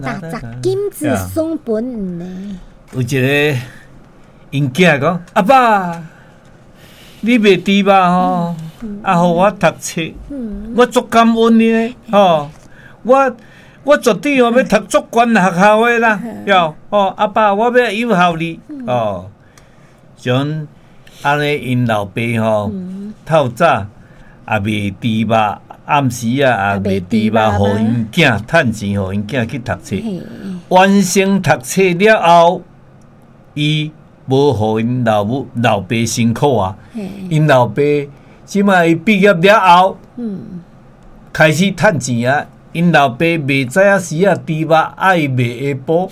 踏十金子送本呢。有一个𪜶囝講：阿爸，你賣豬肉吼，啊，予我讀冊，我足感恩你咧，吼，我絕對哦欲讀足懸學校的啦，喲，哦，阿爸，我欲有孝你，哦，像按呢，𪜶老爸吼，透早也賣豬肉，暗時啊也賣豬肉，予𪜶囝趁錢，予𪜶囝去讀冊。完成讀冊了後，伊無予𪜶老母老爸辛苦啊！𪜶老爸這擺伊畢業了後，開始趁錢啊！𪜶老爸袂知影時啊，豬肉愛賣下晡，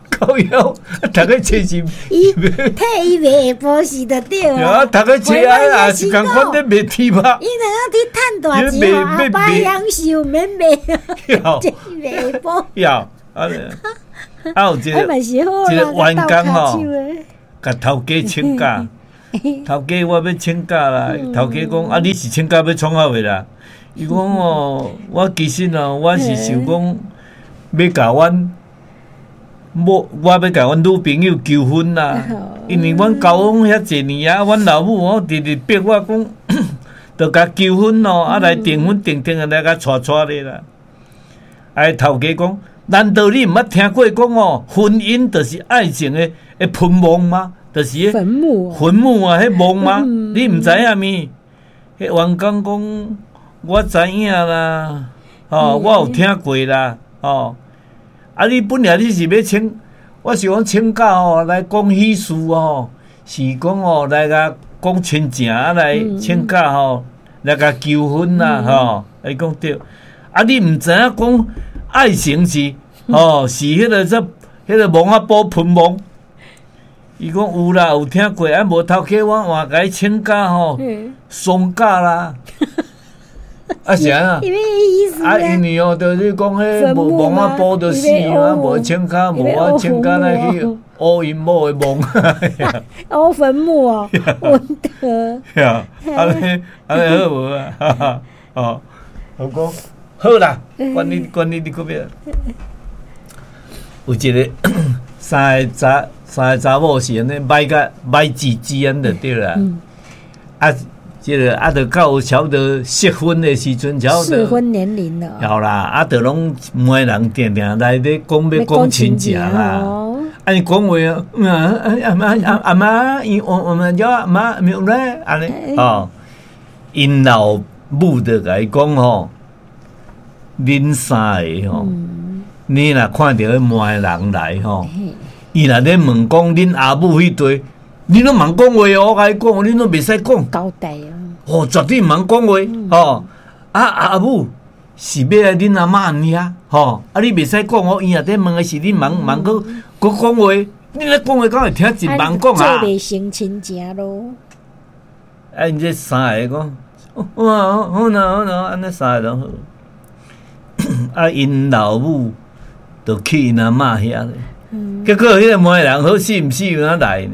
靠腰讀個冊是，伊替伊賣下晡是就對啊。讀個冊啊，也是仝款咧賣豬肉。伊若去趁大錢，阿爸享受免賣，這賣下晡。要啊，啊有一個一個員工吼，共頭家請假，頭家我欲請假啦。頭家講啊，你是請假欲創啥貨啦？伊講哦，我其實哦，我是想講欲共阮某，我欲共阮女朋友求婚啦。因為阮交往遐濟年啊，阮老母哦，直直逼我講，著共求婚哦，啊來訂婚訂訂來共娶娶咧啦。啊，頭家講，難道你毋捌聽過講哦，婚姻就是愛情的墳墓嗎？就是墳墓，墳墓啊，彼墓嗎？你毋知影物？彼員工講，我知影啦，哦，我有聽過啦，哦，啊，你本來你是欲請，我是講請假哦，來講喜事哦，是講哦來共講親情啊，來請假吼，來共求婚啦，吼，伊講對，啊，你毋知影講愛情是，哦，是彼個這彼個墓仔埔墳墓。伊講有啦，有聽過，啊無頭家我換共伊請假吼，喪假啦。啊是按怎？啊，因為哦，就是講彼無墓仔埔就死啊，無請假，無我請假來去烏𪜶某的墓。烏墳墓哦，穩得。按呢按呢好無啊？哦，我講好啦，管你管你你閣欲。有一個三個查三個查某是按呢䆀甲䆀吱吱按呢就對啦。啊，這個啊，就到差不多適婚的時陣，差不多適婚年齡了。有啦，啊，就攏媒人定定來咧講欲講親情啦。啊，伊講話啊，阿媽阿阿媽，伊我我們叫阿媽沒有咧，按呢哦，𪜶老母就共伊講吼，恁三個吼，你若看著彼媒人來吼，伊若咧問講恁阿母彼塊，你攏毋通講話哦，我共你講，你攏袂使講。交代哦。哦，絕對毋通講話吼。啊，阿母是欲來恁阿嬤遐吼，啊，你袂使講哦。伊若咧問的是你毋通毋通閣閣講話，你咧講話敢會聽真毋通講啊？做袂成親情咯。啊，𪜶這三個講，哇，好啦好啦，按呢三個攏好。啊，𪜶老母就去𪜶阿嬤遐咧，結果彼個媒人好死毋死有哪來呢？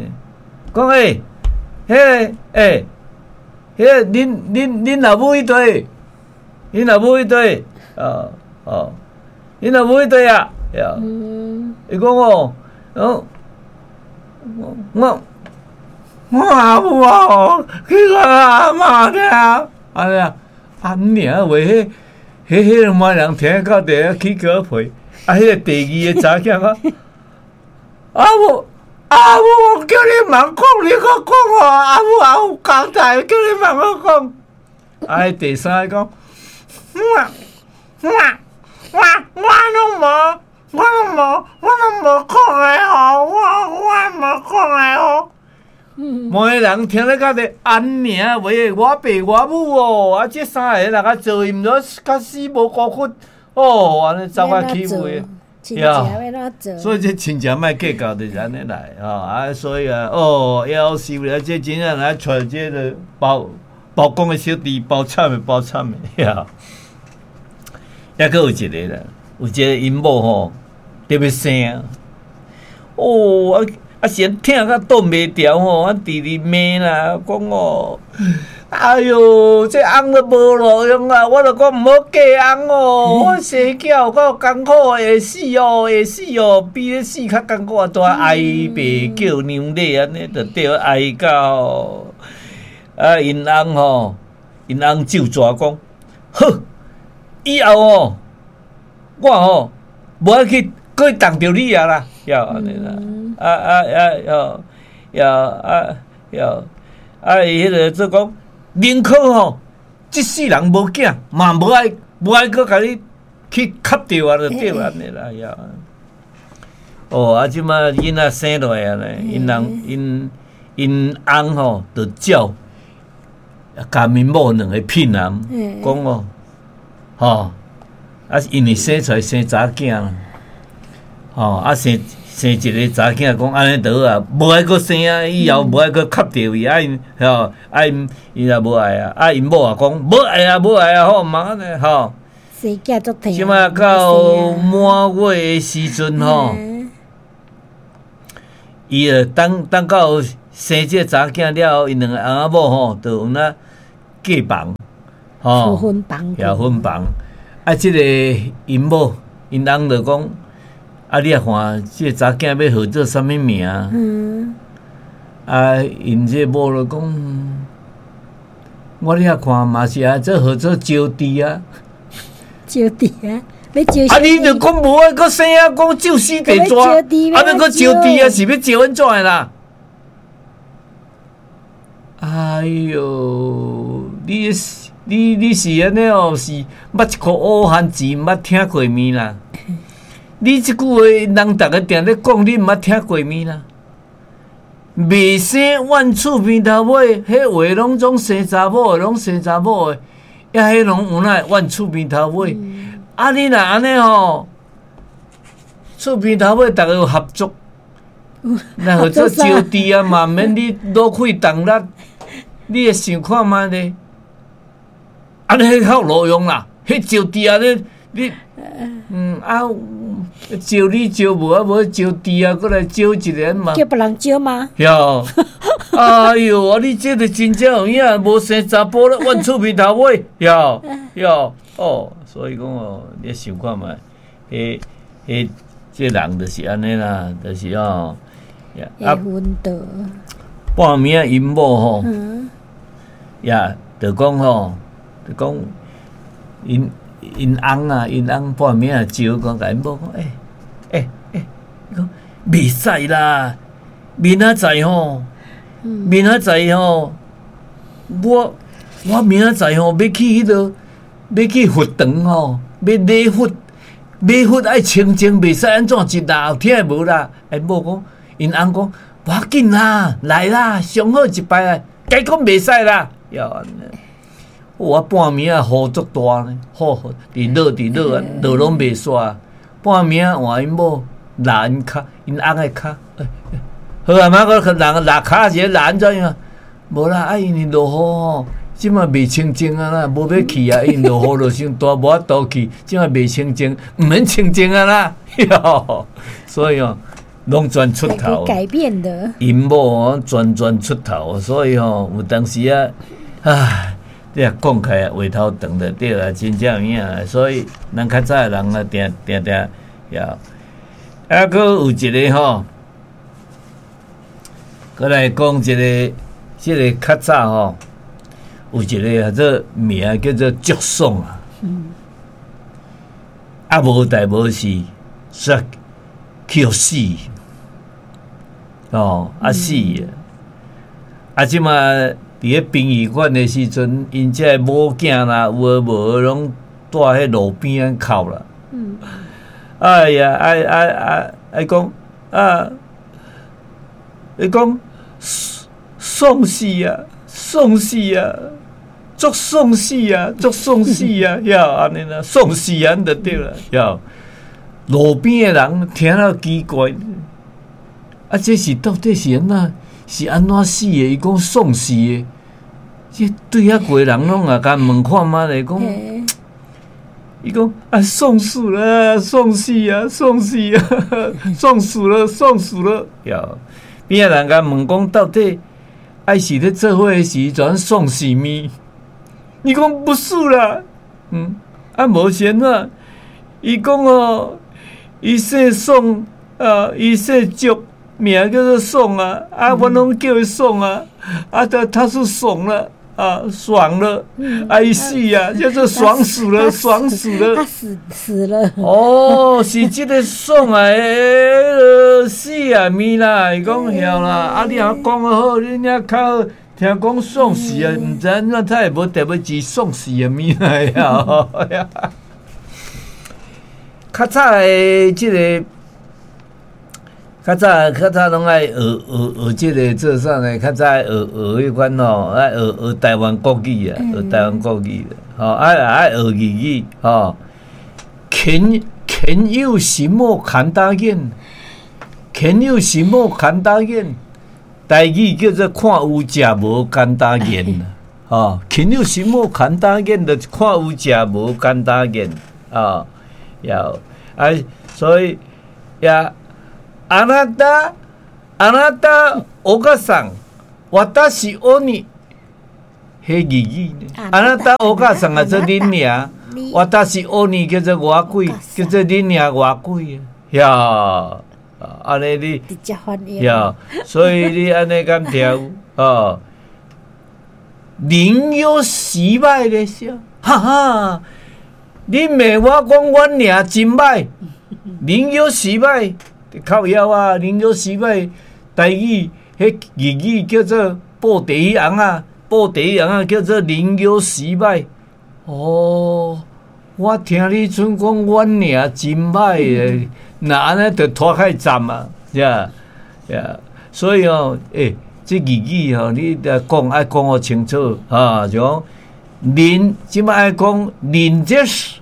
講欸，彼個欸，彼個恁恁恁老母彼塊，恁老母彼塊，哦哦，恁老母彼塊啊，伊講哦，哦，我我阿母啊，去我阿嬤遐，按呢啊，按呢話，彼彼彼個媒人聽到佇遐起雞皮，啊，彼個第二個查某囝講，阿母。阿母，我叫你毋通講，你閣講哦！阿母也有交代，叫你毋通講。啊，第三個講，我我我我攏無，我攏無，我攏無講的吼，我我無講的吼。媒人聽咧甲咧按呢話，我爸我母哦，啊，這三个若共做𪜶著較死無辜骨哦，按呢走較起話。所以這親情莫計較，就是按呢來吼啊！所以啊，哦，夭壽了，這真正來揣這個包包公的小弟，包慘的包慘的呀！抑閣有一個啦，有一個𪜶某吼，特欲生，哦啊啊，先疼甲擋袂牢吼，啊，直直罵啦，講哦，哎喲，這翁都無路用啊！我就講毋好嫁翁哦，我生囝有夠艱苦，會死哦，會死哦，比咧死較艱苦啊！都哀爸叫娘咧，按呢就對哀到啊！𪜶翁吼，𪜶翁咒蛇講，好，以後哦，我吼無愛去閣去動著你啊啦，呀按呢啦，啊啊啊喲，喲啊喲，啊伊彼个做講。寧可吼，這世人無囝，嘛無愛無愛閣共你去磕著啊，就對按呢啦呀。哦，啊，這馬囡仔生落來啊呢，𪜶人𪜶𪜶翁吼，就照共𪜶某兩个騙人，講哦，吼，啊，因為生出來生查囝啦，吼，啊生生一个查囝，講按呢就好啊，無愛閣生啊，以後無愛閣磕著伊，啊𪜶吼，啊𪜶伊也無愛啊，啊𪜶某也講無愛啊，無愛啊，好毋通按呢吼。生囝足疼。這馬到滿月的時陣吼，伊就等等到生這個查囝了後，𪜶兩個翁仔某吼，就有那過房，吼，分房，也分房。啊，這個𪜶某𪜶翁就講。啊！你也看，這个查囝欲號做啥物名？嗯。啊，𪜶這个某就講，我咧看嘛是啊，做號做招娣啊。招娣啊！欲招。啊！你就講無愛閣生啊，講咒死地蛇，啊！欲閣招娣啊，是欲招按怎的啦？哎喲，你你你是按呢哦？是捌一箍烏番薯，毋捌聽過面啦？你這句話，人逐个定咧講，你毋捌聽過面啦？未生怨厝邊頭尾，彼話攏總生查某的，攏生查某的，抑彼攏有哪會怨厝邊頭尾？啊，你若按呢吼，厝邊頭尾逐个有合作，若號做招娣啊，嘛毋免你勞氣動力，你會想看覓咧？按呢彼較有路用啦，彼招娣啊，你你嗯啊，招你招無啊，無招娣啊，閣來招一个嘛？叫別人招嗎？喲，哎喲，啊你這个真正有影，無生查埔咧，怨厝邊頭尾，喲喲哦，所以講哦，你想看覓？彼彼這人就是按呢啦，就是哦，啊，半暝仔𪜶某吼，呀，就講吼，就講𪜶。𪜶翁啊，𪜶翁半暝仔招講，共𪜶某講，欸欸欸，伊講袂使啦，明仔載吼，明仔載吼，我我明仔載吼欲去彼落，欲去佛堂吼，欲禮佛，禮佛愛清淨，袂使按怎一鬧，聽會無啦？𪜶某講，𪜶翁講，無要緊啦，來啦，上好一擺啊，該講袂使啦，喲。我半暝仔雨足大呢，雨佇落佇落啊，落攏袂煞。半暝仔換𪜶某拉𪜶跤，𪜶翁的跤。好啊，嘛閣人拉跤是拉按怎樣？無啦，啊因為落雨吼，這馬袂清淨啊啦，無欲去啊，因為落雨落傷大，無法度去，這馬袂清淨，毋免清淨啊啦。所以哦，攏全出頭。改變的。𪜶某哦，全全出頭，所以吼，有當時啊，唉。你若講起來話頭長就對啦，真正有影。所以咱較早的人啊，定定定也，啊，閣有一个吼，閣來講一个，這个較早吼，有一个叫做名叫做祝爽啊。啊，無代無事，煞去予死。哦，啊死啊！啊，這馬。佇咧殯儀館的時陣，𪜶這个某囝啦，有的無的攏蹛彼路邊仔哭啦。哎呀，啊啊啊！伊講啊，伊講喪死啊，喪死啊，足喪死啊，足喪死啊，遐按呢啦，喪死按就對啦，遐路邊的人聽了奇怪，啊，這是到底是按怎？是按怎死的？伊講喪死的，這對遐過人攏也共問看覓咧，講，伊講啊，喪死了，喪死啊，喪死啊，喪死了，喪死了。喲，邊仔人共問講到底，愛是咧做伙的時陣爽死物？伊講不是啦，啊無是按怎？伊講哦，伊姓宋啊，伊姓祝，名叫做宋啊，啊，我攏叫伊宋啊，啊，他是爽了啊，爽了，啊，伊死啊，叫做爽死了，爽死了，他死死了。哦，是這个爽啊，彼死啊物啦，伊講曉啦，啊，你若講得好，你爾較好。聽講爽死啊，毋知按怎他會無特別字爽死的物來啊！較早的這个，較早較早攏愛學學學這个做啥呢？較早愛學學彼款吼，愛學學台灣國語啊，學台灣國語，吼，愛愛學粵語，吼。勤勤有什麼看大眼？勤有什麼看大眼？台語叫做看有食無簡單言，吼，勤有什麼簡單言？就是看有食無簡單言，啊，要啊，所以呀，あなたあなたお母さん，私おに，彼粵語呢？あなたお母さん啊，做恁娘，私おに叫做外鬼，叫做恁娘外鬼呀。按呢你，呀，所以你按呢敢聽有哦？人有時歹咧，哈哈！你罵我講阮娘真歹，人有時歹靠腰啊！人有時歹，台語彼粵語叫做布袋尪仔，布袋尪仔叫做人有時歹。哦，我聽你陣講阮娘真歹的。那按呢就拖開站啊，呀呀，所以哦，欸，這粵語吼，你著講愛講予清楚啊，就講恁這擺愛講恁這是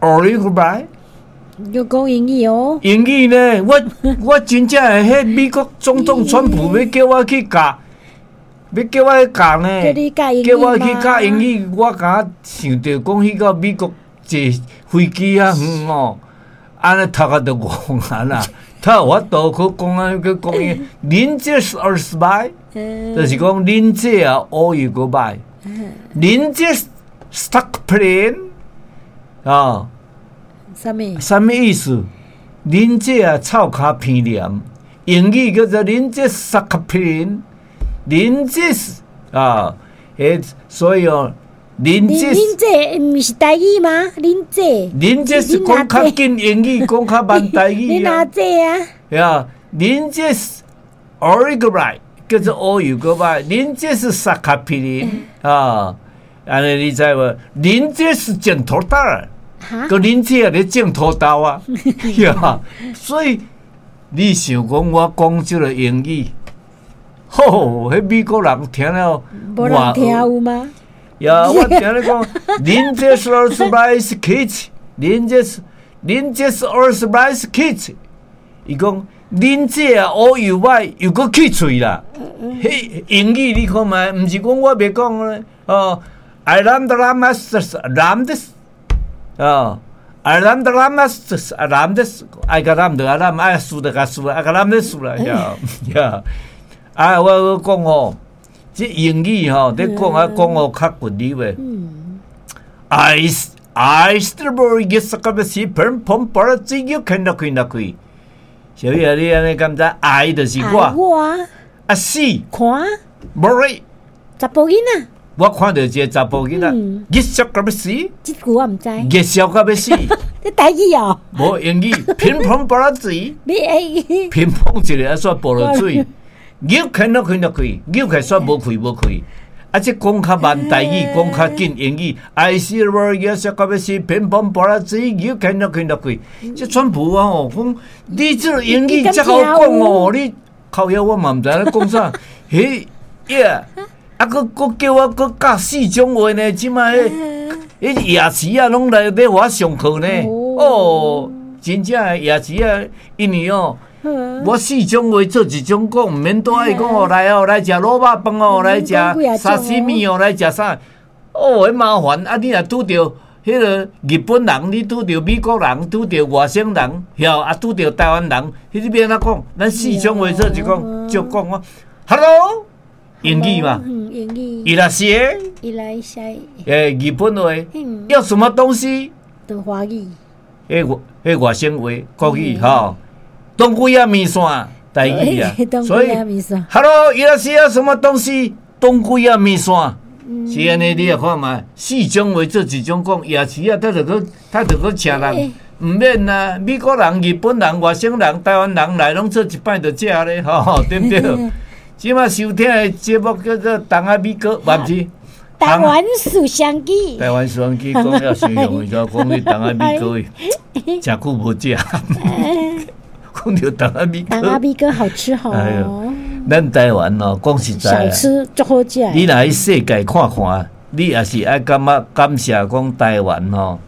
奧利白，要講英語哦。英語呢？我真正會，彼美國總統川普欲叫我去教，欲叫我去教呢？叫我去教英語，我敢想著講去到美國坐飛機遐遠哦。按呢頭殼都戇啊啦！他有法度去講啊，去講伊，恁這是二十擺，就是講恁這啊烏有閣歹，恁這 stuck plane 啊，啥物？啥物意思？恁這啊臭跤鼻炎，英語叫做恁這 stuck plane，恁這是啊，欸，所以哦。恁這恁這毋是台語嗎？恁這恁這是講較緊英語，講較慢台語。恁哪這啊？呀，恁這是 original 叫做烏有閣歹，恁這是沙卡皮林啊，按呢你知無？恁這是剪土豆，閣恁這咧種土豆啊，呀，所以你想講我講這个英語，吼，彼美國人聽了，無人聽有嗎？呀，我聽你講，恁這是二十來 kids，恁這是二十來 kids，伊講恁這啊烏又歹又閣去喙啦。彼英語你看覓，毋是講我袂講咧。哦，I am the master, ram this，哦，I am the master, ram this，愛共攬就共攬，愛輸就共輸，愛共攬咧輸啦。呀呀，啊，我閣講吼。這英語吼，你講啊講予較骨力話。I I strawberry 是個是砰砰把嘴又開了開了開。小雨啊，你按呢敢知？I 就是我。我。啊，see。看。無。查埔囡仔。我看著一个查埔囡仔，熱笑甲欲死。這句我毋知。熱笑甲欲死。這台語哦。無英語，乒乓波仔水。你會。乒乓一个啊，煞潑落水。扭開了開了開，扭開煞無開無開。啊！這講較慢台語，講較緊英語。I see the 熱笑甲欲死，乒乓波仔水，扭開了開了開。這川普啊吼，講你這个英語遮好講哦，你靠腰我嘛毋知影咧講啥。彼呀，啊，閣閣叫我閣教四種話呢，這擺彼彼夜市啊，攏來欲予我上課呢。哦，真正的夜市啊，因為哦。我四種話做一種講，毋免拄愛講哦，來哦，來食滷肉飯哦，來食沙西米哦，來食啥？哦，彼麻煩啊！你若拄著彼个日本人，你拄著美國人，拄著外省人，曉啊，拄著台灣人，彼你欲按怎講？咱四種話做一講，就講我，Hello，英語嘛，英語。伊若是伊來寫。欸，日本話，要什麼東西？都華語。彼外省話，國語吼，當歸仔麵線，台語啊。所以，Hello，伊若是要什麼東西？當歸仔麵線，是按呢，你也看覓，四種話做一種講，夜市啊，他就閣請人，毋免啊，美國人、日本人、外省人、台灣人來攏做一擺就食咧，吼，對毋對？這馬收聽的節目叫做《東仔米糕》，毋是？台灣思想記。台灣思想記講了傷容易，就講你東仔米糕，誠久無食。講著東仔米糕。東仔米糕好吃吼。哎喲，咱台灣哦，講實在，小吃足好食。你若去世界看看，你也是愛感覺感謝講台灣吼。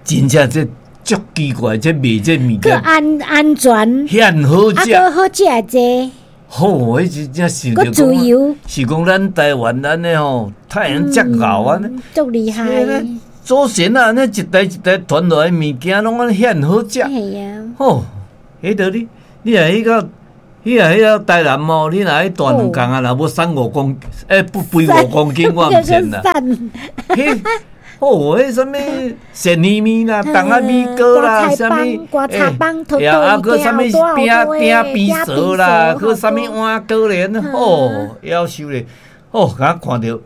真正這足奇怪，這賣這物件，閣安全，遐好食，啊，閣好食濟。好，彼真正是著講，是講咱台灣按呢吼，太陽遮𠢕按呢，足厲害。祖先啊，按呢一代一代傳落來物件，攏按呢遐好食。係啊。吼，彼著你，你若去到，你若去到台南哦，你若去大軟港啊，若無瘦五公，欸，不肥五公斤，我毋信啦。彼，哦，彼啥物鱔魚麵啦，東仔米糕啦，啥物，欸，啊，閣啥物鼎邊趖啦，閣啥物碗糕咧，哦，夭壽咧，哦，敢看著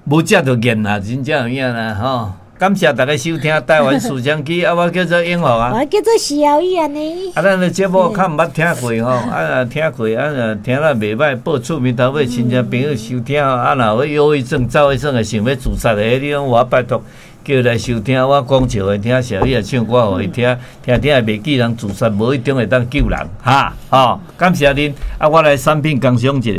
無食就厭啦，真正有影啦，吼！感謝大家收聽台灣思想記，啊，我叫做永福啊，我叫做徐瑤玉按呢。啊，咱的節目較毋捌聽過吼，啊，若聽過，啊，若聽了袂䆀，報厝邊頭尾親戚朋友收聽，啊，若有憂鬱症、躁鬱症的想欲自殺的，你攏我拜託叫伊來收聽，我講笑予伊聽，小玉唱歌予伊聽，聽聽會袂記人自殺，無一定會當救人，哈，吼，感謝恁，啊，我來產品工商一下。